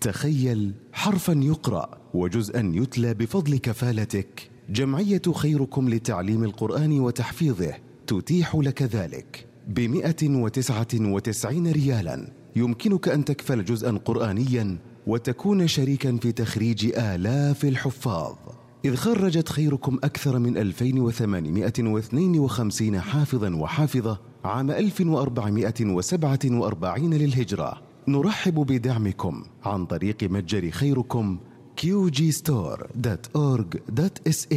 تخيل حرفا يقرأ وجزءا يتلى بفضل كفالتك. جمعية خيركم لتعليم القرآن وتحفيظه تتيح لك ذلك ب199 ريالا. يمكنك أن تكفل جزءا قرآنيا وتكون شريكا في تخريج آلاف الحفاظ، إذ خرجت خيركم أكثر من 2852 حافظا وحافظة عام 1447 للهجرة. نرحب بدعمكم عن طريق متجر خيركم qgstore.org.sa.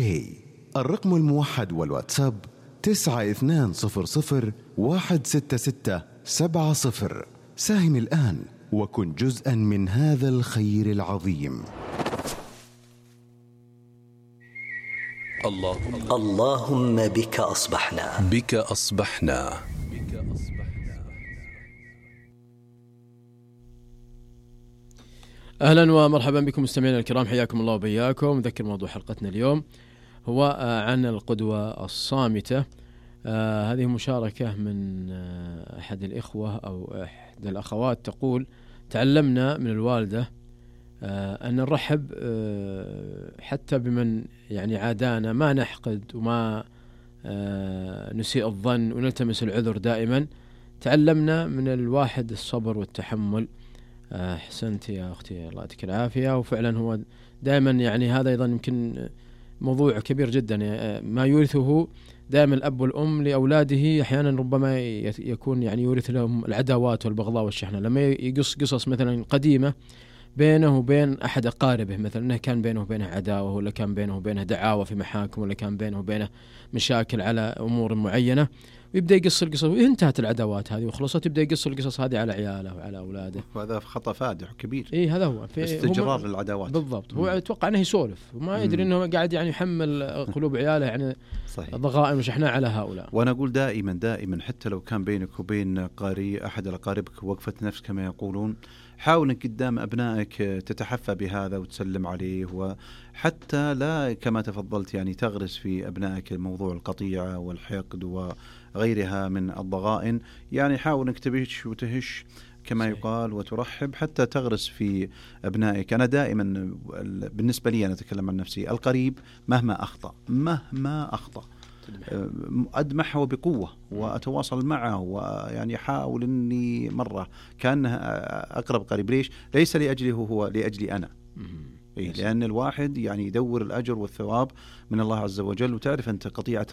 الرقم الموحد والواتساب 9200166770. ساهم الآن وكن جزءا من هذا الخير العظيم. اللهم بك أصبحنا. أهلا ومرحبا بكم مستمعينا الكرام، حياكم الله وبياكم. نذكر موضوع حلقتنا اليوم هو عن القدوة الصامتة. هذه مشاركة من أحد الإخوة أو إحدى الأخوات، تقول: تعلمنا من الوالدة أن نرحب حتى بمن يعني عادانا، ما نحقد وما نسيء الظن ونلتمس العذر دائما. تعلمنا من الواحد الصبر والتحمل. أحسنت يا أختي، الله يعطيك العافية. وفعلا هو دائما يعني هذا أيضا يمكن موضوع كبير جدا، ما يورثه دائما الأب والأم لأولاده أحيانا ربما يكون يعني يورث لهم العداوات والبغضاء والشحنة. لما يقص قصص مثلا قديمة بينه وبين أحد أقاربه، مثلا أنه كان بينه وبينه عداوة، ولا كان بينه وبينه دعاوى في محاكم، ولا كان بينه وبينه مشاكل على أمور معينة، ويبدأ يقص القصص وانتهت العداوات هذه وخلصت، يبدأ يقص القصص هذه على عياله وعلى أولاده. وهذا خطأ فادح كبير. إيه هذا هو في استجرار للعداوات. بالضبط. هو يتوقع أنه يسولف وما يدري أنه قاعد يعني يحمل قلوب عياله يعني ضغائن وشحناء على هؤلاء. وأنا أقول دائما حتى لو كان بينك وبين أحد الأقاربك وقفة نفس كما يقولون، حاول أنك قدام أبنائك تتحفى بهذا وتسلم عليه، وحتى لا كما تفضلت يعني تغرس في أبنائك موضوع القطيعة والحقد وغيرها من الضغائن. يعني حاول أنك تبيش وتهش كما يقال وترحب حتى تغرس في أبنائك. أنا دائما بالنسبة لي أنا أتكلم عن نفسي، القريب مهما أخطأ أدمحه بقوة وأتواصل معه، ويعني حاول أني مرة كأنه أقرب قريب. ليس لأجله هو، لأجلي أنا. لأن الواحد يعني يدور الأجر والثواب من الله عز وجل. وتعرف أنت قطيعة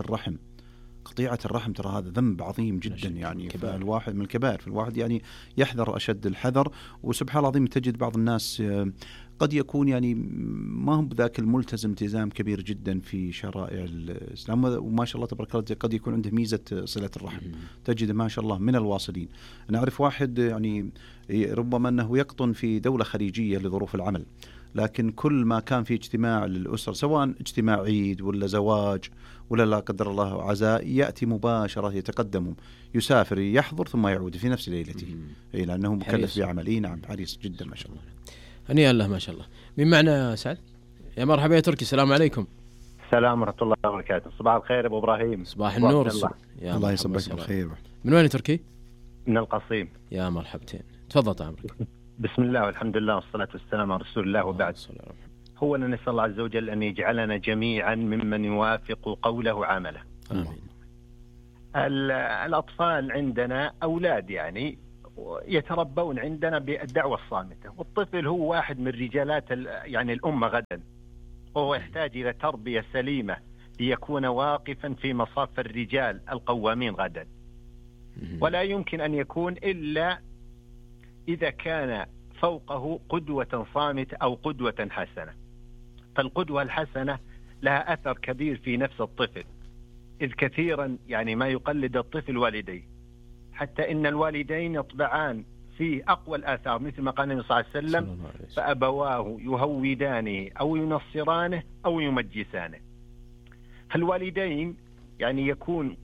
الرحم ترى هذا ذنب عظيم جدا، يعني فالواحد من الكبائر، فالواحد يعني يحذر أشد الحذر. وسبحان الله العظيم تجد بعض الناس قد يكون يعني ما هم بذاك الملتزم التزام كبير جدا في شرائع الإسلام، وما شاء الله تبارك الله قد يكون عنده ميزة صلة الرحم، تجد ما شاء الله من الواصلين. أنا أعرف واحد يعني ربما أنه يقطن في دولة خليجية لظروف العمل، لكن كل ما كان في اجتماع للأسر، سواء اجتماع عيد ولا زواج ولا لا قدر الله عزاء، يأتي مباشرة، يتقدم، يسافر، يحضر ثم يعود في نفس ليلته، لأنه مكلف بعمله. نعم، حريص جدا ما شاء الله. هنيئا له ما شاء الله. من معنا سعد؟ يا مرحبا يا تركي، السلام عليكم. السلام ورحمة الله وبركاته. صباح الخير أبو إبراهيم. صباح النور. الله يصبحك بالخير. من وين تركي؟ من القصيم. يا مرحبتين، تفضل عمرك. بسم الله والحمد لله والصلاة والسلام على رسول الله، وبعد. هو أن نسأل الله عز وجل أن يجعلنا جميعا ممن يوافق قوله وعمله. آمين. الأطفال عندنا أولاد يعني يتربون عندنا بالدعوة الصامتة، والطفل هو واحد من رجالات يعني الأمة غدا، وهو يحتاج إلى تربية سليمة ليكون واقفا في مصاف الرجال القوامين غدا. ولا يمكن أن يكون إلا إذا كان فوقه قدوة صامتة أو قدوة حسنة. فالقدوة الحسنة لها أثر كبير في نفس الطفل، إذ كثيرا يعني ما يقلد الطفل والديه، حتى إن الوالدين يطبعان في أقوى الآثار، مثل ما قال النبي صلى الله عليه وسلم: فأبواه يهودانه أو ينصرانه أو يمجسانه. فالوالدين يعني يكون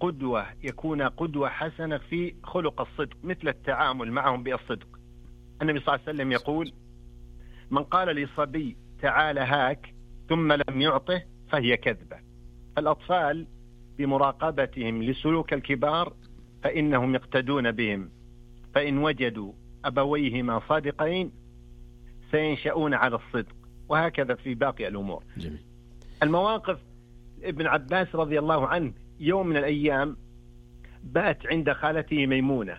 قدوة حسنة في خلق الصدق، مثل التعامل معهم بالصدق. النبي صلى الله عليه وسلم يقول: من قال لصبي تعال هاك ثم لم يعطه فهي كذبة. فالأطفال بمراقبتهم لسلوك الكبار فإنهم يقتدون بهم، فإن وجدوا أبويهما صادقين سينشأون على الصدق، وهكذا في باقي الأمور. جميل. المواقف، ابن عباس رضي الله عنه يوم من الأيام بات عند خالته ميمونة،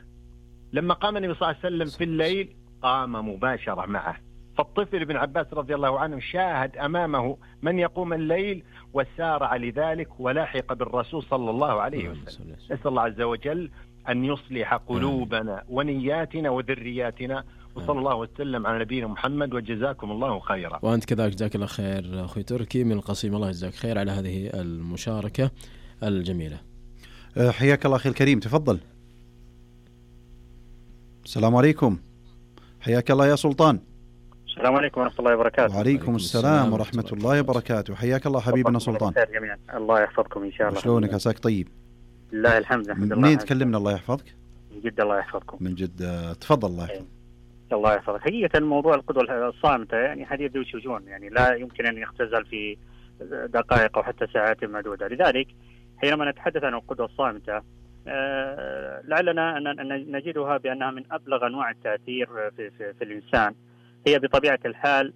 لما قام النبي صلى الله عليه وسلم في الليل قام مباشرة معه، فالطفل ابن عباس رضي الله عنه شاهد أمامه من يقوم الليل وسارع لذلك ولاحق بالرسول صلى الله عليه وسلم. نسأل الله عز وجل أن يصلح قلوبنا ونياتنا وذرياتنا، وصلى الله وسلم على نبينا محمد، وجزاكم الله خيرا. وأنت كذلك جزاك الله خير أخوي تركي من القصيم، الله يجزاك خير على هذه المشاركة الجميلة. حياك الله أخي الكريم، تفضل. السلام عليكم. حياك الله يا سلطان. السلام عليكم ورحمة الله وبركاته. وعليكم السلام ورحمة الله وبركاته. حياك الله حبيبنا سلطان. جميعا. الله يحفظكم إن شاء الله. شلونك؟ عساك طيب؟ لله الحمد. الحمد لله. منين تكلمنا؟ الله يحفظك. من جدة. الله يحفظكم. من جدة. تفضل. الله يحفظك. الله يحفظك. حقيقة موضوع القدوة الصامتة يعني حديث ذو شجون، يعني لا يمكن أن يختزل في دقائق أو حتى ساعات معدودة. لذلك حينما نتحدث عن القدوة الصامتة لعلنا أن نجدها بأنها من أبلغ أنواع التأثير في الإنسان. هي بطبيعة الحال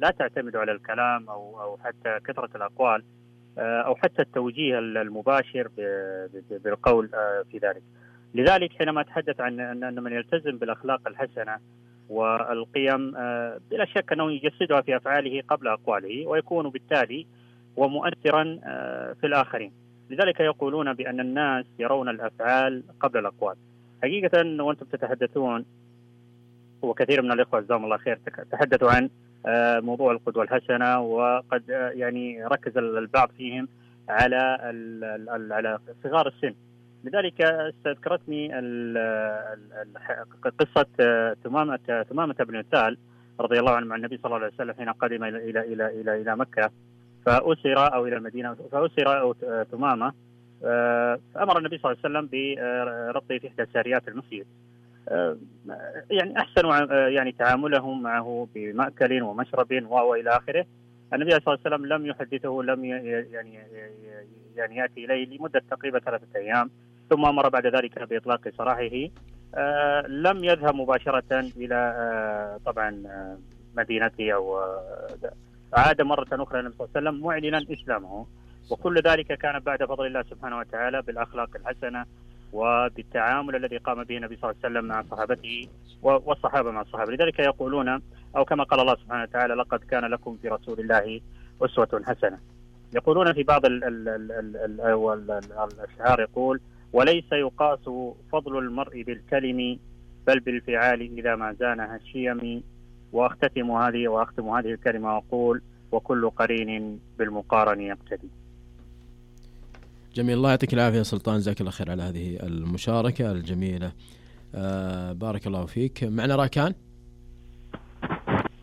لا تعتمد على الكلام أو حتى كثرة الأقوال أو حتى التوجيه المباشر بالقول في ذلك. لذلك حينما أتحدث عن أن من يلتزم بالأخلاق الحسنة والقيم بلا شك أنه يجسدها في أفعاله قبل أقواله، ويكون بالتالي ومؤثرا في الآخرين. لذلك يقولون بأن الناس يرون الأفعال قبل الأقوال. حقيقة وأنتم تتحدثون وكثير من الإخوة جزاهم الله خير تحدثوا عن موضوع القدوة الحسنة، وقد يعني ركز البعض فيهم على صغار السن. لذلك استذكرتني قصة ثمامة بن أثال رضي الله عنه مع النبي صلى الله عليه وسلم حين قدم إلى مكة فأسر أو إلى المدينة فأسر ثمامة، فأمر النبي صلى الله عليه وسلم بربطه في إحدى ساريات المسجد. يعني أحسن يعني تعاملهم معه بمأكل ومشرب وإلى آخره. النبي صلى الله عليه وسلم لم يحدثه، لم يعني يأتي إليه لمدة تقريبا 3 أيام، ثم أمر بعد ذلك بإطلاق سراحه. لم يذهب مباشرة إلى طبعا مدينته أو عاد مرة أخرى النبي صلى الله عليه وسلم معلنا إسلامه. وكل ذلك كان بعد فضل الله سبحانه وتعالى بالأخلاق الحسنة وبالتعامل الذي قام به النبي صلى الله عليه وسلم مع صحابته والصحابة مع الصحابة. لذلك يقولون أو كما قال الله سبحانه وتعالى لقد كان لكم في رسول الله أسوة حسنة. يقولون في بعض الأشعار يقول وليس يقاس فضل المرء بالكلم بل بالفعال إذا ما زانها الشيم. وأختم هذه الكلمة وأقول وكل قرين بالمقارن يقتدي. جميل. الله يعطيك العافية يا سلطان، جزاك الله خير على هذه المشاركة الجميلة. بارك الله فيك. معنا راكان.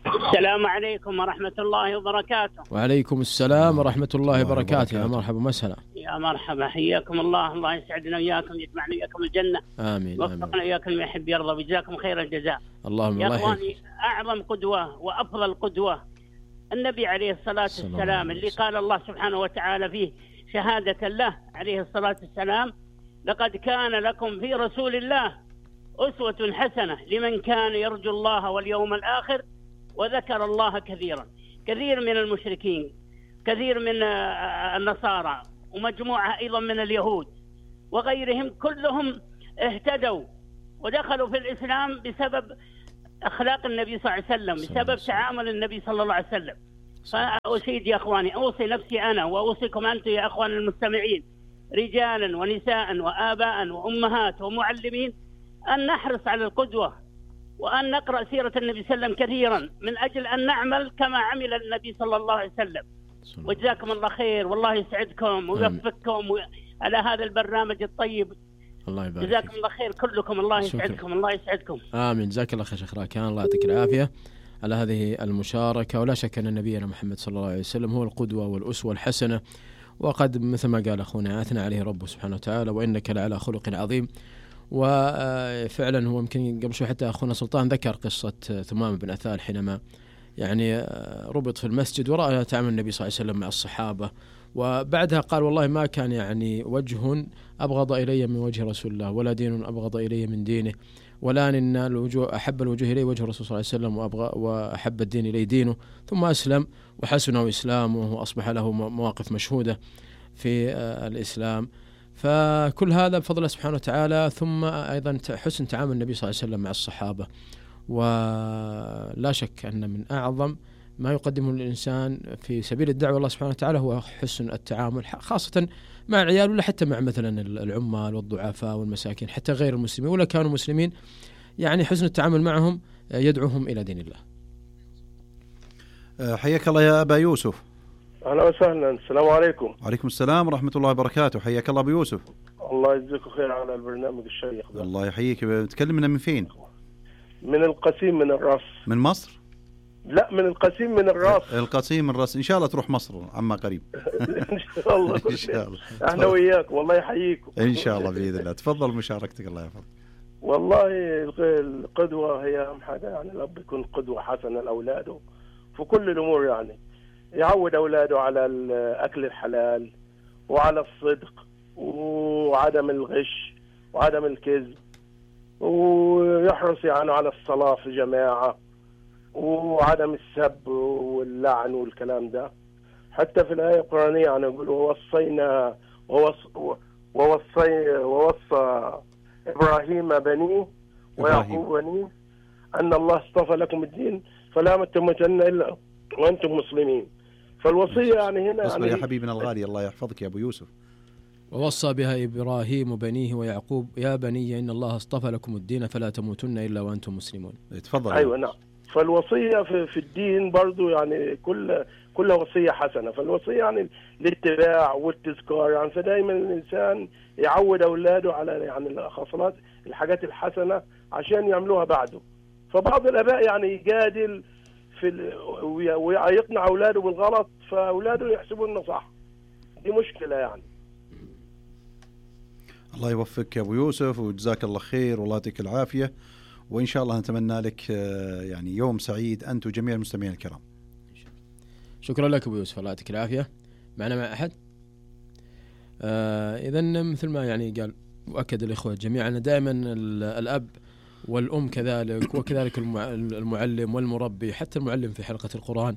السلام عليكم ورحمة الله وبركاته. وعليكم السلام ورحمة الله وبركاته. يا مرحبا ومسهلا. يا مرحبا، حياكم الله. الله يسعدنا وياكم، يجمعنا وياكم الجنة. آمين. وفقنا وياكم يحب يرضى، وجزاكم خير الجزاء. اللهم يا اخواني، أعظم قدوة وأفضل قدوة النبي عليه الصلاة والسلام، اللي قال الله سبحانه وتعالى فيه شهادة له عليه الصلاة والسلام لقد كان لكم في رسول الله أسوة حسنة لمن كان يرجو الله واليوم الآخر وذكر الله كثيرا. كثير من المشركين، كثير من النصارى، ومجموعة أيضا من اليهود وغيرهم كلهم اهتدوا ودخلوا في الإسلام بسبب أخلاق النبي صلى الله عليه وسلم، بسبب تعامل النبي صلى الله عليه وسلم. فأسيد يا أخواني، أوصي نفسي أنا وأوصيكم أنتم يا أخوان المستمعين رجالا ونساء وآباء وأمهات ومعلمين أن نحرص على القدوة، وأن نقرأ سيرة النبي صلى الله عليه وسلم كثيرا من أجل أن نعمل كما عمل النبي صلى الله عليه وسلم. وجزاكم الله خير، والله يسعدكم ويوفقكم على هذا البرنامج الطيب. الله يبارك. جزاكم الله خير كلكم، الله يسعدكم. الله يسعدكم. آمين. جزاك الله خير شيخ راكان، الله يعطيك العافية على هذه المشاركة. ولا شك أن نبينا محمد صلى الله عليه وسلم هو القدوة والأسوة الحسنة، وقد مثل ما قال أخونا أثنى عليه ربه سبحانه وتعالى وإنك لعلى خلق عظيم. وفعلا هو يمكن قبل شوي حتى أخونا سلطان ذكر قصة ثمامة بن أثال حينما يعني ربط في المسجد ورأى تعامل النبي صلى الله عليه وسلم مع الصحابة، وبعدها قال والله ما كان يعني وجه أبغض إلي من وجه رسول الله ولا دين أبغض إلي من دينه. والآن إن الوجوه أحب الوجوه إليه وجه الرسول صلى الله عليه وسلم وأحب الدين إليه دينه، ثم أسلم وحسنه إسلامه وأصبح له مواقف مشهودة في الإسلام. فكل هذا بفضل الله سبحانه وتعالى، ثم أيضا حسن تعامل النبي صلى الله عليه وسلم مع الصحابة. ولا شك أن من أعظم ما يقدمه الإنسان في سبيل الدعوة الله سبحانه وتعالى هو حسن التعامل، خاصة مع العيال ولا حتى مع مثلا العمال والضعفاء والمساكين، حتى غير المسلمين ولا كانوا مسلمين، يعني حسن التعامل معهم يدعوهم إلى دين الله. حياك الله يا أبا يوسف. أهلا وسهلا. السلام عليكم. وعليكم السلام ورحمة الله وبركاته. حياك الله أبو يوسف. الله يجزيكم خير على البرنامج الشيق ده. الله يحييك. تكلمنا من فين؟ من القسيم من الراس. من مصر؟ لا، من القسيم من الراس. القسيم من الراس. إن شاء الله تروح مصر عما قريب. إن شاء الله. إن شاء الله. احنا وياك والله يحييكم. إن شاء الله بإذن الله. تفضل مشاركتك. الله يحفظك. والله القدوة هي أهم حاجة، يعني الأب يكون قدوة حسنة لأولاده في كل الأمور، يعني يعود أولاده على الأكل الحلال وعلى الصدق وعدم الغش وعدم الكذب، ويحرص يعني على الصلاة في جماعة وعدم السب واللعن والكلام ده. حتى في الآية القرآنية يعني يقولوا ووصى إبراهيم بنيه ويعقوب بنيه أن الله اصطفى لكم الدين فلا تموتن إلا وأنتم مسلمين. فالوصية يعني هنا اصبر يا حبيبنا الغالي. الله يحفظك يا أبو يوسف. ووصى بها إبراهيم بنيه ويعقوب يا بني إن الله اصطفى لكم الدين فلا تموتن إلا وأنتم مسلمون. تفضل. أيوة نعم. فالوصية في الدين برضو يعني كل وصية حسنة. فالوصية يعني الاتباع والتذكار، يعني فدايما الإنسان يعود أولاده على يعني الخصلات الحاجات الحسنة عشان يعملوها بعده. فبعض الآباء يعني يجادل ويقنع أولاده بالغلط، فأولاده يحسبوا إنه صح. دي مشكلة يعني. الله يوفقك يا أبو يوسف وجزاك الله خير والله يعطيك العافية، وإن شاء الله نتمنى لك يعني يوم سعيد أنت وجميع المستمعين الكرام. شكرا لك أبو يوسف، الله يعطيك العافية. معنا مع أحد؟ إذن مثل ما يعني قال وأكد الإخوة جميعا دائما الأب والأم كذلك، وكذلك المعلم والمربي، حتى المعلم في حلقة القرآن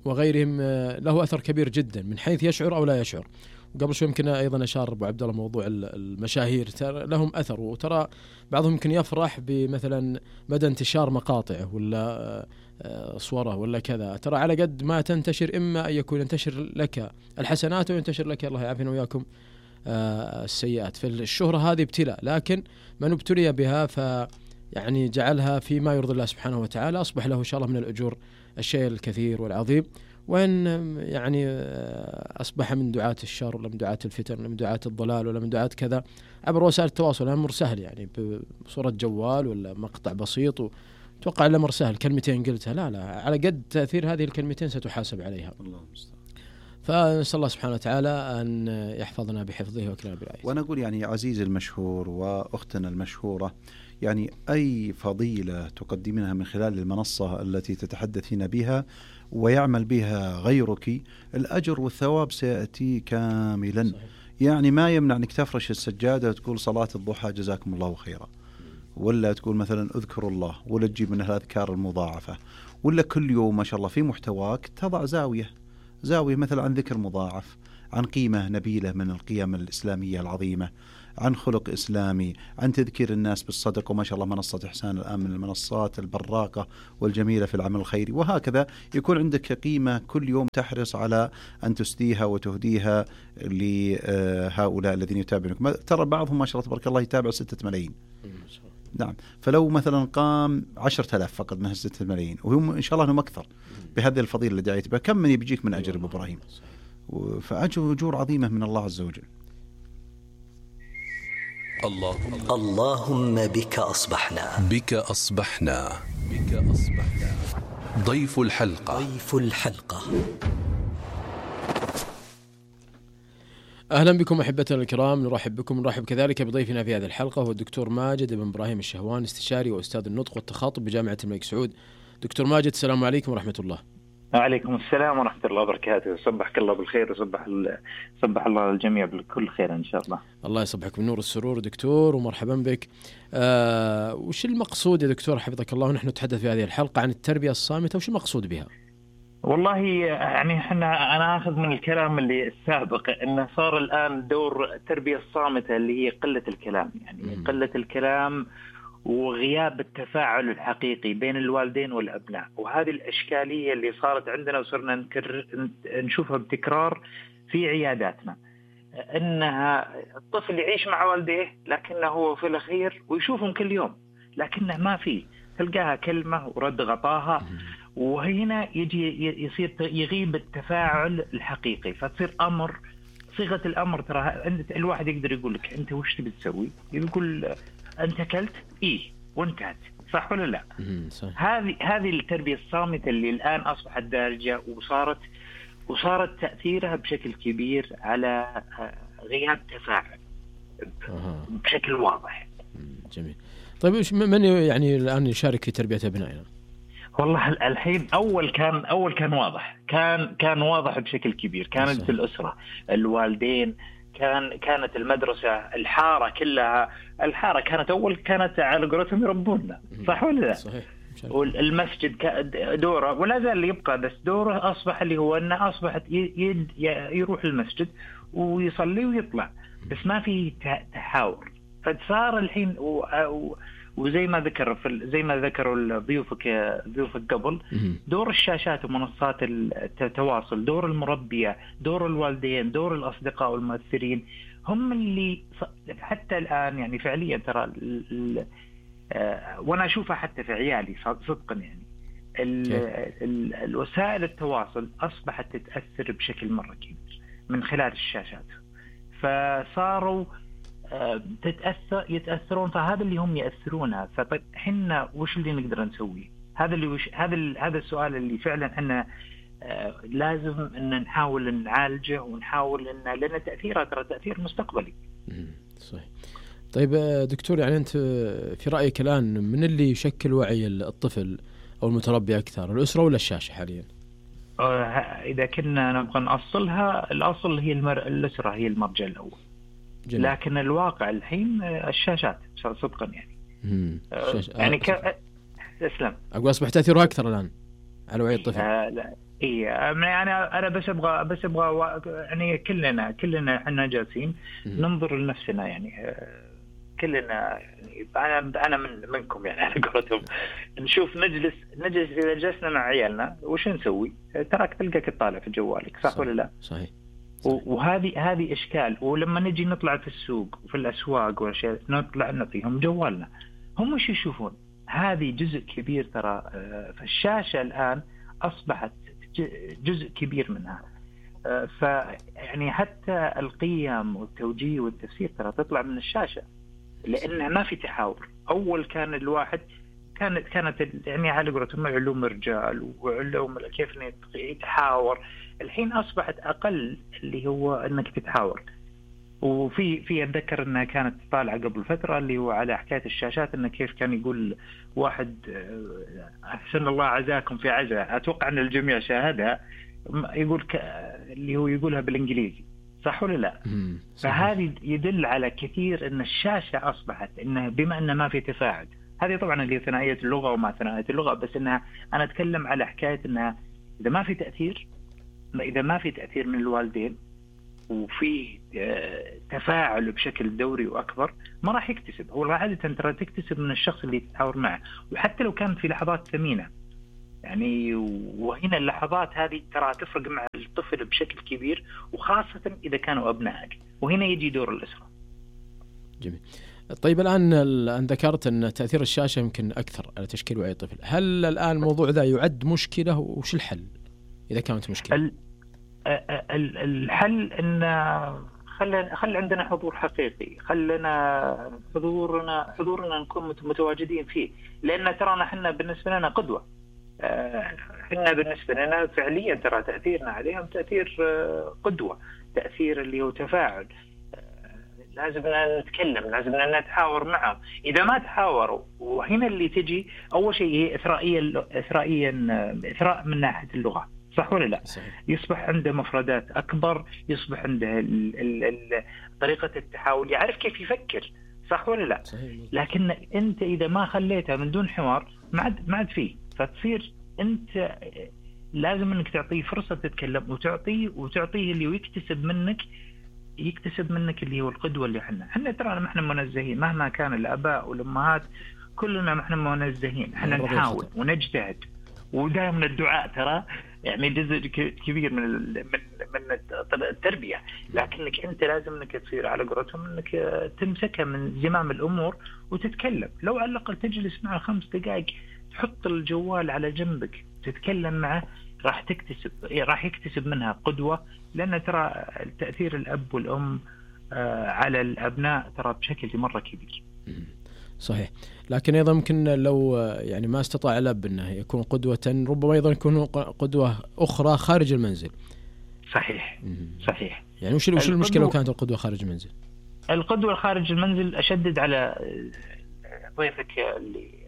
وغيرهم له أثر كبير جدا من حيث يشعر أو لا يشعر. وقبل شوي يمكن أيضا أشار أبو عبد الله موضوع المشاهير لهم أثر، وترى بعضهم يمكن يفرح بمثلا مدى انتشار مقاطعه ولا صوره ولا كذا، ترى على قد ما تنتشر إما أن يكون ينتشر لك الحسنات وينتشر لك الله يعافينا وياكم السيئات. فالشهرة هذه ابتلاء، لكن من ابتلي بها يعني جعلها فيما يرضي الله سبحانه وتعالى أصبح له إن شاء الله من الأجور الشيء الكثير والعظيم. وإن يعني أصبح من دعاة الشر ولا من دعاة الفتن ولا من دعاة الضلال ولا من دعاة كذا عبر وسائل التواصل، الأمر سهل يعني بصورة جوال ولا مقطع بسيط، وتوقع الأمر سهل كلمتين قلتها، لا على قد تأثير هذه الكلمتين ستحاسب عليها. فنسأل الله سبحانه وتعالى أن يحفظنا بحفظه وكلنا برعايته. وأنا أقول يعني عزيزي المشهور وأختنا المشهورة، يعني أي فضيلة تقدمينها من خلال المنصة التي تتحدثين بها ويعمل بها غيرك، الأجر والثواب سيأتي كاملا. صحيح. يعني ما يمنع أنك تفرش السجادة وتقول صلاة الضحى جزاكم الله خيرا، ولا تقول مثلا اذكروا الله، ولا تجيب من الأذكار المضاعفة، ولا كل يوم ما شاء الله في محتواك تضع زاوية مثلا عن ذكر مضاعف، عن قيمة نبيلة من القيم الإسلامية العظيمة، عن خلق إسلامي، عن تذكير الناس بالصدق. وما شاء الله منصة إحسان الآن من المنصات البراقة والجميلة في العمل الخيري، وهكذا يكون عندك قيمة كل يوم تحرص على أن تسديها وتهديها لهؤلاء الذين يتابعونك. ترى بعضهم ما شاء الله تبارك الله يتابع 6 ملايين. نعم. فلو مثلا قام 10,000 فقط من 6 ملايين، وهم إن شاء الله أنهم أكثر بهذه الفضيلة اللي دعيت بها، كم من يبيجيك من أجر أبو إبراهيم؟ فأجور عظيمة من الله عز وجل. اللهم بك أصبحنا ضيف الحلقة. أهلا بكم أحبتنا الكرام، نرحب كذلك بضيفنا في هذه الحلقة هو الدكتور ماجد بن إبراهيم الشهوان، استشاري وأستاذ النطق والتخاطب بجامعة الملك سعود. دكتور ماجد، السلام عليكم ورحمة الله. وعليكم السلام ورحمة الله وبركاته. صبحك الله بالخير وصبح الله الجميع بكل خير إن شاء الله. الله يصبحك بالنور والسرور دكتور ومرحبا بك. وش المقصود يا دكتور حفظك الله ونحن نتحدث في هذه الحلقة عن التربية الصامتة، وش المقصود بها؟ والله يعني أنا أخذ من الكلام اللي السابق أنه صار الآن دور التربية الصامتة اللي هي قلة الكلام، يعني قلة الكلام وغياب التفاعل الحقيقي بين الوالدين والأبناء. وهذه الإشكالية اللي صارت عندنا وصرنا نشوفها بتكرار في عياداتنا، إنها الطفل يعيش مع والديه لكنه هو في الأخير ويشوفهم كل يوم لكنه ما في، تلقاها كلمة ورد غطاها، وهنا يصير يغيب التفاعل الحقيقي، فتصير أمر صيغة الأمر. ترى الواحد يقدر يقول لك أنت وش تبي تسوي، يقول أنت أكلت إيه وانتهت، صح ولا لا؟ هذه التربية الصامتة اللي الآن أصبحت دارجة وصارت تأثيرها بشكل كبير على غياب تفاعل بشكل واضح. جميل. طيب من يعني الآن يشارك في تربية أبنائنا؟ والله الحين أول كان واضح، كان واضح بشكل كبير، كانت الأسرة، الوالدين، كانت المدرسة، الحارة كلها. الحارة كانت على قولتهم يربوننا، صح ولا لا؟ صحيح. والمسجد دوره ولا زال يبقى، بس دوره أصبح اللي هو أنه أصبحت يروح المسجد ويصلي ويطلع، بس ما في تحاور. فصار الحين وزي ما ذكروا ضيوفك قبل، دور الشاشات ومنصات التواصل، دور المربية، دور الوالدين، دور الأصدقاء والمؤثرين، هم اللي حتى الآن يعني فعليا ترى وأنا أشوفها حتى في عيالي صدقا، يعني الوسائل التواصل أصبحت تتأثر بشكل مرة كبير من خلال الشاشات، فصاروا يتأثرون، فهذا اللي هم يأثرونها. فطيب حنا وش اللي نقدر نسوي؟ هذا السؤال اللي فعلا حنا لازم ان نحاول نعالجه ونحاول ان لأن تأثيرها ترى تأثير مستقبلي. صحيح. طيب دكتور، يعني أنت في رأيك الآن من اللي يشكل وعي الطفل أو المتربي أكثر، الأسرة ولا الشاشة حاليا؟ إذا كنا نبغى نأصلها، الأصل هي الأسرة هي المرجع الأول. جميل. لكن الواقع الحين الشاشات صدقا يعني. يعني اسلم. أقول أصبح تأثيرها أكثر الآن على وعي الطفل. لا يعني أنا بس أبغى يعني كلنا إحنا جالسين ننظر لنفسنا، يعني كلنا يعني أنا منكم يعني على قولتهم، نشوف نجلس إذا جلسنا مع عيالنا وش نسوي؟ تراك تلقاك تطالع في جوالك، صح ولا لا؟ صحيح. وهذه إشكال. ولما نجي نطلع في السوق وفي الأسواق والأشياء نطلع نعطيهم جوالنا، هم وش يشوفون؟ هذه جزء كبير ترى. فالشاشة الآن أصبحت جزء كبير منها. فيعني حتى القيم والتوجيه والتفسير ترى تطلع من الشاشة، لأنه ما في تحاور. أول كان الواحد كانت يعني على قولتهم علوم الرجال وعلوم كيف يتحاور. الحين أصبحت أقل اللي هو أنك تتحاور. وفي أتذكر أنها كانت طالعة قبل فترة اللي هو على حكاية الشاشات، أنه كيف كان يقول واحد أحسن الله عزاكم في عزاء، أتوقع أن الجميع شاهدها، يقول اللي هو يقولها بالإنجليزي، صح ولا لا؟ فهذه يدل على كثير أن الشاشة أصبحت إنها بما أن ما في تفاعل. هذه طبعا اللي ثنائية اللغة وما ثنائية اللغة، بس أنها أنا أتكلم على حكاية أنها إذا ما في تأثير من الوالدين وفي تفاعل بشكل دوري وأكبر، ما راح يكتسب. هو عادة ترى تكتسب من الشخص اللي تتحاور معه، وحتى لو كانت في لحظات ثمينة يعني. وهنا اللحظات هذه ترى تفرق مع الطفل بشكل كبير، وخاصة إذا كانوا أبنائك، وهنا يجي دور الأسرة. جميل. طيب الآن ذكرت أن تأثير الشاشة يمكن أكثر على تشكيل وعي الطفل. هل الآن الموضوع ذا يعد مشكلة، وش الحل إذا كانت مشكلة؟ الحل أن خل عندنا حضور حقيقي، خلنا حضورنا نكون متواجدين فيه، لأن ترانا حنا بالنسبة لنا قدوة. حنا بالنسبة لنا فعليا ترى تأثيرنا عليهم تأثير قدوة، تأثير اللي هو تفاعل. لازم نتكلم، لازم نتحاور معهم. إذا ما تحاوروا، وهنا اللي تجي أول شيء هي إثراء من ناحية اللغة. صح ولا لا؟ صحيح. يصبح عنده مفردات أكبر، يصبح عنده طريقة التحاول، يعرف كيف يفكر، صح ولا لا؟ صحيح. لكن أنت إذا ما خليتها من دون حوار ما عاد فيه، فتصير أنت لازم أنك تعطيه فرصة تتكلم، وتعطيه اللي يكتسب منك اللي هو القدوة اللي احنا ترى ما احنا منزهين، مهما كان الآباء والأمهات كلنا ما احنا منزهين، احنا نحاول ونجتهد، ودائما الدعاء ترى يعني جزء كبير من التربية، لكنك انت لازم انك تصير على قولتهم انك تمسكها من زمام الامور وتتكلم، لو على الاقل تجلس معه 5 دقائق، تحط الجوال على جنبك تتكلم معه، راح يكتسب منها قدوة، لأن ترى تأثير الأب والأم على الأبناء ترى بشكل مرة كبير. صحيح. لكن أيضا ممكن لو يعني ما استطاع الأب أنه يكون قدوة، ربما أيضا يكون قدوة أخرى خارج المنزل. صحيح. يعني وش المشكلة لو كانت القدوة خارج المنزل؟ القدوة خارج المنزل أشدد على ضيفك اللي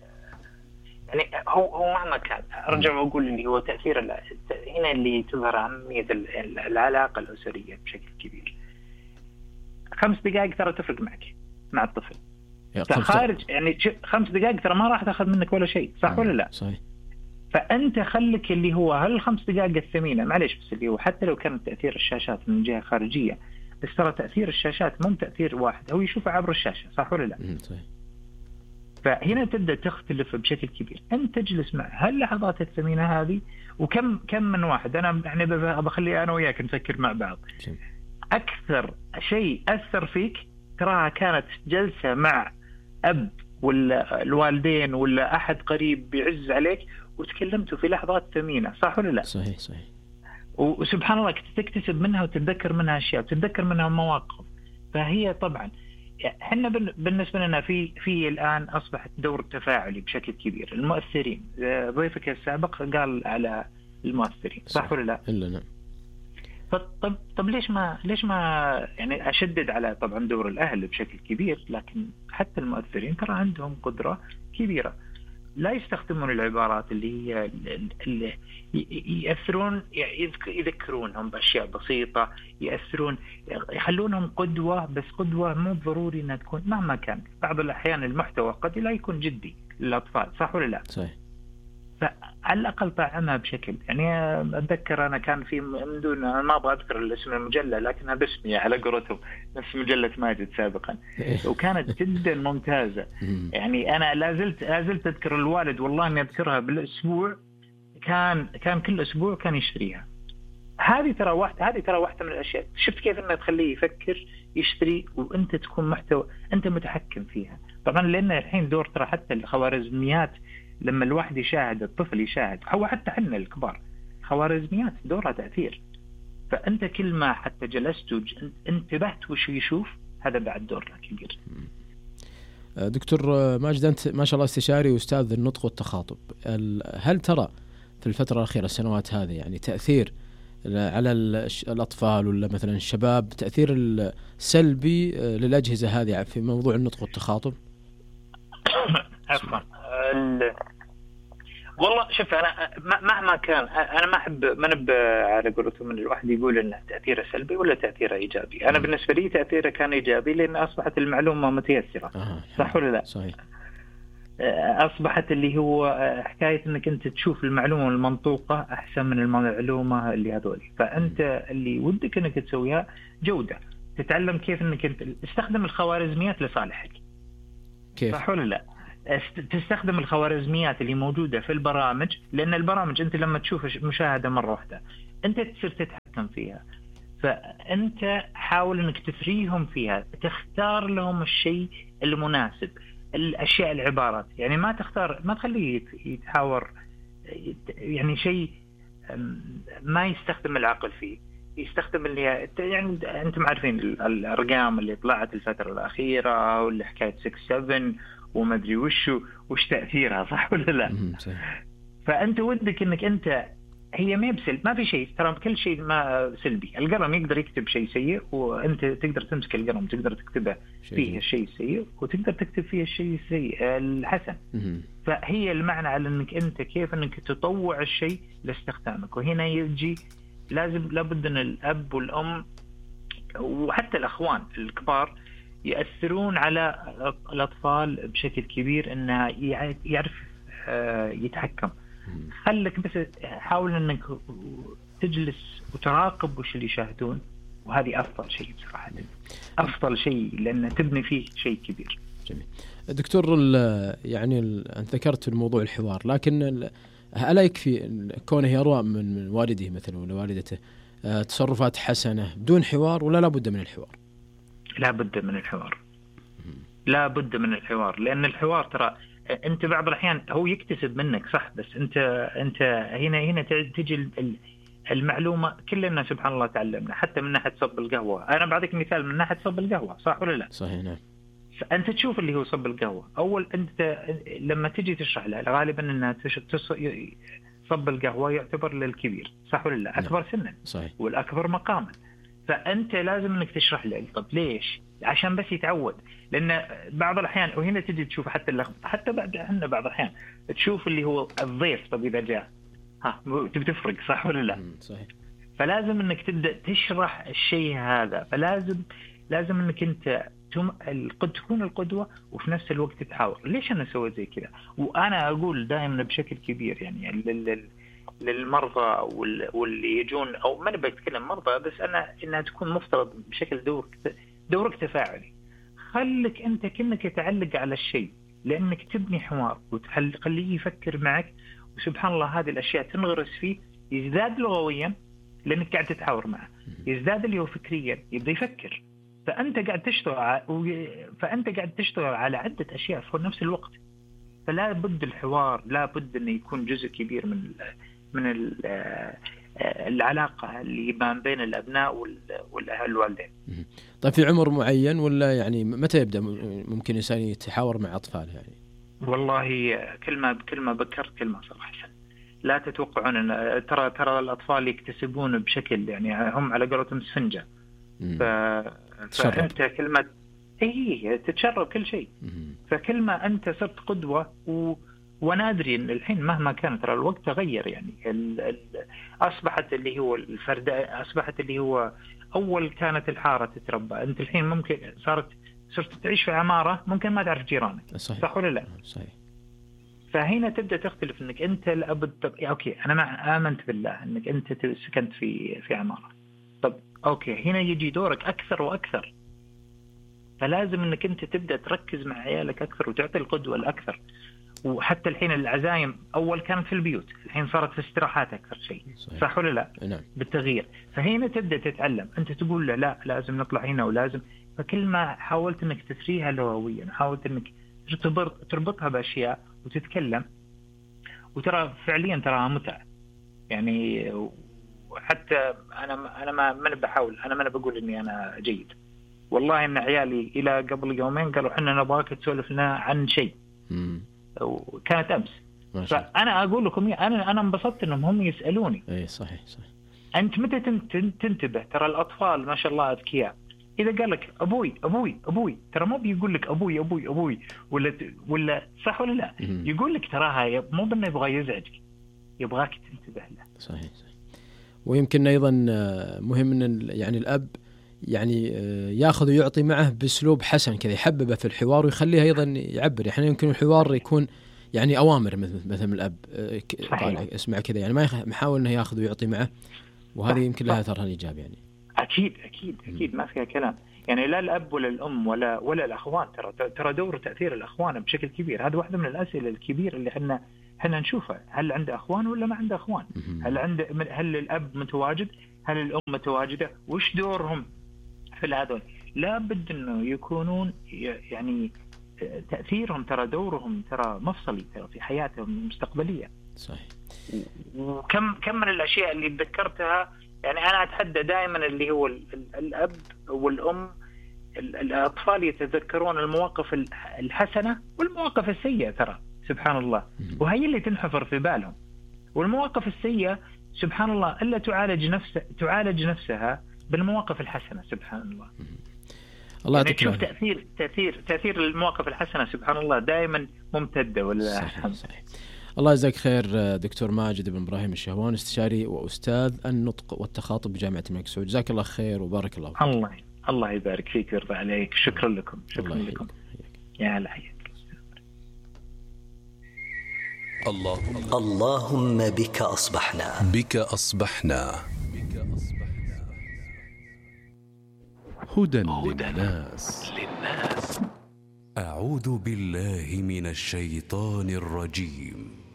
يعني هو مهما كان، أرجع وأقول اللي هو تأثير هنا اللي تظهر أهمية العلاقة الأسرية بشكل كبير. 5 دقائق ترى تفرق معك مع الطفل خارج، يعني 5 دقائق ترى ما راح تأخذ منك ولا شيء، صح ولا لا؟ صحيح. فأنت خلك اللي هو هل 5 دقائق الثمينة، معليش، بس اللي هو حتى لو كان تأثير الشاشات من جهة خارجية، بس ترى تأثير الشاشات مو تأثير واحد، هو يشوفه عبر الشاشة، صح ولا لا؟ صحيح. فهنا تبدأ تختلف بشكل كبير، أنت تجلس مع هاللحظات الثمينة هذه، وكم من واحد أنا يعني بخلي أنا وياك نفكر مع بعض، أكثر شيء أثر فيك تراها كانت جلسة مع أب ولا الوالدين ولا أحد قريب بيعز عليك وتكلمتوا في لحظات ثمينة، صح ولا لا؟ صحيح. وسبحان الله تكتسب منها وتتذكر منها أشياء وتتذكر منها مواقف. فهي طبعا احنا بالنسبة لنا في الآن أصبحت دور تفاعلي بشكل كبير. المؤثرين، ضيفك السابق قال على المؤثرين، صح ولا لا؟ إلا نعم. طب ليش ما يعني أشدد على طبعا دور الأهل بشكل كبير، لكن حتى المؤثرين ترى عندهم قدرة كبيرة، لا يستخدمون العبارات اللي يأثرون، يذكرونهم بأشياء بسيطة، يخلونهم قدوة، بس قدوة مو ضروري أنها تكون مهما كان، بعض الأحيان المحتوى قد لا يكون جدي للأطفال، صح ولا لا؟ صحيح. فعلى الأقل طعمها بشكل، يعني أتذكر أنا كان في من دون، ما أبغى أذكر الاسم المجلة لكنها باسمي على قولتهم، نفس مجلة ماجد سابقا، وكانت جدا ممتازة. يعني أنا لازلت أذكر الوالد، والله أني أذكرها بالأسبوع، كان كل أسبوع كان يشتريها. هذه ترى واحدة من الأشياء، شفت كيف أنها تخليه يفكر يشتري، وأنت تكون محتوى أنت متحكم فيها. طبعا لأن الحين دور ترى حتى الخوارزميات، لما الواحد يشاهد، الطفل يشاهد، أو حتى حنا الكبار، خوارزميات دورها تأثير. فأنت كل ما حتى جلست انتبهت وش يشوف، هذا بعد دور كبير. دكتور ماجد، أنت ما شاء الله استشاري وأستاذ النطق والتخاطب، هل ترى في الفترة الأخيرة السنوات هذه يعني تأثير على الأطفال ولا مثلا الشباب، تأثير السلبي للأجهزة هذه في موضوع النطق والتخاطب؟ عفوا، والله شوف، أنا مهما كان أنا ما أحب على قولتهم من الواحد يقول إنه تأثيره سلبي ولا تأثيره إيجابي. أنا بالنسبة لي تأثيره كان إيجابي، لأن أصبحت المعلومة متيسرة، صح ولا لا؟ صحيح. أصبحت اللي هو حكاية إنك أنت تشوف المعلومة المنطوقة أحسن من المعلومة اللي هذولي، فأنت اللي ودك إنك تسويها جودة، تتعلم كيف إنك أنت تستخدم الخوارزميات لصالحك، كيف؟ صح ولا لا؟ تستخدم الخوارزميات اللي موجودة في البرامج، لأن البرامج أنت لما تشوف مشاهدة مرة واحدة أنت تصير تتحكم فيها، فأنت حاول أنك تثريهم فيها، تختار لهم الشيء المناسب، الأشياء، العبارات، يعني ما تخليه يتحاور يعني شيء ما يستخدم العقل فيه، يستخدم اللي يعني أنتم عارفين الأرقام اللي طلعت الفترة الأخيرة، واللي حكاية 6-7 وما أدري وش تأثيرها، صح ولا لا؟ فأنت ودك إنك أنت هي ما بسلب، ما في شيء ترى، كل شيء ما سلبي. القلم يقدر يكتب شيء سيء، وانت تقدر تمسك القلم تقدر تكتبه فيه الشيء السيء، وتقدر تكتب فيه الشيء السيء الحسن. فهي المعنى على انك انت كيف انك تطوع الشيء لاستخدامك. وهنا يجي لابد ان الاب والام وحتى الاخوان الكبار يأثرون على الاطفال بشكل كبير، انه يعرف يتحكم. خلك بس حاول انك تجلس وتراقب وش اللي يشاهدون، وهذه افضل شيء بصراحه، افضل شيء لان تبني فيه شيء كبير. جميل دكتور. يعني انت ذكرت الموضوع الحوار، لكن الا يكفي كونه يروى من والده مثلا ولا والدته تصرفات حسنه بدون حوار، ولا لا بد من الحوار؟ لا بد من الحوار، لا بد من الحوار. لان الحوار ترى انت بعض الاحيان هو يكتسب منك صح، بس انت هنا تجي المعلومه. كلنا سبحان الله تعلمنا، حتى من ناحيه صب القهوه. انا بعطيك مثال من ناحيه صب القهوه، صح ولا لا؟ صحيح نعم. انت تشوف اللي هو صب القهوه، اول انت لما تجي تشرح له غالبا انها صب القهوه يعتبر للكبير، صح ولا لا؟ اكبر سنا صحيح، والاكبر مقاما. فانت لازم انك تشرح له. طب ليش؟ عشان بس يتعود. لان بعض الاحيان وهنا تجي تشوف حتى بعد احنا بعض الاحيان تشوف اللي هو الضيف، طب اذا جاء تبي تفرق، صح ولا لا؟ صحيح. فلازم انك تبدا تشرح الشيء هذا. لازم انك انت تكون القدوه وفي نفس الوقت تحاور. ليش انا سويت زي كذا؟ وانا اقول دائما بشكل كبير يعني للمرضى واللي يجون، او ما نبي نتكلم مرضى بس، انها تكون مفترض بشكل دورك تفاعلي. خلك انت كأنك تعلق على الشيء، لانك تبني حوار وتخليه يفكر معك. وسبحان الله هذه الاشياء تنغرس فيه، يزداد لغويا لانك قاعد تتحاور معه، يزداد اللي هو فكريا، يبدا يفكر. فانت قاعد تشتغل على عده اشياء في نفس الوقت. فلا بد الحوار، لا بد انه يكون جزء كبير من العلاقه اللي بين الابناء والوالدين. طيب في عمر معين ولا يعني متى يبدا ممكن الانسان يتحاور مع اطفاله يعني؟ والله كل ما بكرت كل ما صار احسن. لا تتوقعون ان ترى الاطفال يكتسبون بشكل يعني هم على قولتهم سفنجه. فانت كلمه تتشرب كل شيء. فكل ما انت صرت قدوه ونادري ان الحين مهما كان ترى الوقت تغير يعني. اصبحت اللي هو الفرد، اصبحت اللي هو اول كانت الحاره تتربى، انت الحين ممكن صرت تعيش في عماره ممكن ما تعرف جيرانك. صح ولا لا؟ صحيح. فهنا تبدا تختلف انك انت لابد اوكي انا امنت بالله انك انت سكنت في عماره. طب اوكي هنا يجي دورك اكثر واكثر. فلازم انك انت تبدا تركز مع عيالك اكثر وتعطي القدوه الاكثر. وحتى الحين العزايم اول كانت في البيوت، الحين صارت في استراحات اكثر شيء. صح ولا لا؟ نعم. بالتغيير. فهنا تبدا تتعلم، انت تقول له لا لازم نطلع هنا ولازم. فكل ما حاولت انك تسريها لغويا، حاولت انك تربطها باشياء وتتكلم، وترى فعليا تراها متعه يعني. وحتى انا ما بحاول، انا ما بقول اني انا جيد. والله ان عيالي الى قبل يومين قالوا احنا نبغاك تسولف لنا عن شيء، وكانت امس. فانا اقول لكم انا انبسطت انهم هم يسالوني. اي صحيح. انت متى تنتبه؟ ترى الاطفال ما شاء الله اذكياء. اذا قال لك ابوي ابوي ابوي، ترى مو بيقول لك ابوي ابوي ابوي ولا صح ولا لا؟ يقول لك تراها مو بانه يبغى يزعجك، يبغاك تنتبه له. صحيح. ويمكن ايضا مهم ان يعني الاب يعني ياخذ ويعطي معه باسلوب حسن كذا، يحببه في الحوار ويخليه ايضا يعبر. يعني يمكن الحوار يكون يعني اوامر مثل الاب طالع اسمع كذا، يعني ما يحاول انه ياخذ ويعطي معه، وهذه يمكن لها اثرها الايجابي يعني. اكيد ما فيها كلام يعني. لا الاب ولا الام ولا الاخوان، ترى دور تاثير الاخوان بشكل كبير. هذا واحده من الاسئله الكبيرة اللي احنا نشوفها. هل عنده اخوان ولا ما عنده اخوان؟ هل الاب متواجد؟ هل الام متواجده؟ وش دورهم في هذول؟ لابد انه يكونون يعني تاثيرهم، ترى دورهم ترى مفصلي ترى في حياتهم المستقبليه. صحيح. وكم من الاشياء اللي ذكرتها يعني. انا اتحدى دائما اللي هو الاب والام، الاطفال يتذكرون المواقف الحسنه والمواقف السيئه ترى سبحان الله، وهي اللي تنحفر في بالهم. والمواقف السيئه سبحان الله إلا تعالج نفسها بالمواقف الحسنة. سبحان الله. الله يعني يعطيك تشوف تأثير المواقف الحسنة سبحان الله دائما ممتدة ولا أحسن. صحيح. الله يجزاك خير دكتور ماجد بن إبراهيم الشهوان، استشاري وأستاذ النطق والتخاطب بجامعة الملك سعود. جزاك الله خير وبارك الله فيك. الله يبارك فيك ويرضى عليك. شكرا لكم. شكرا لكم. يا هلا حياك. اللهم بك أصبحنا هدى للناس. أعوذ بالله من الشيطان الرجيم.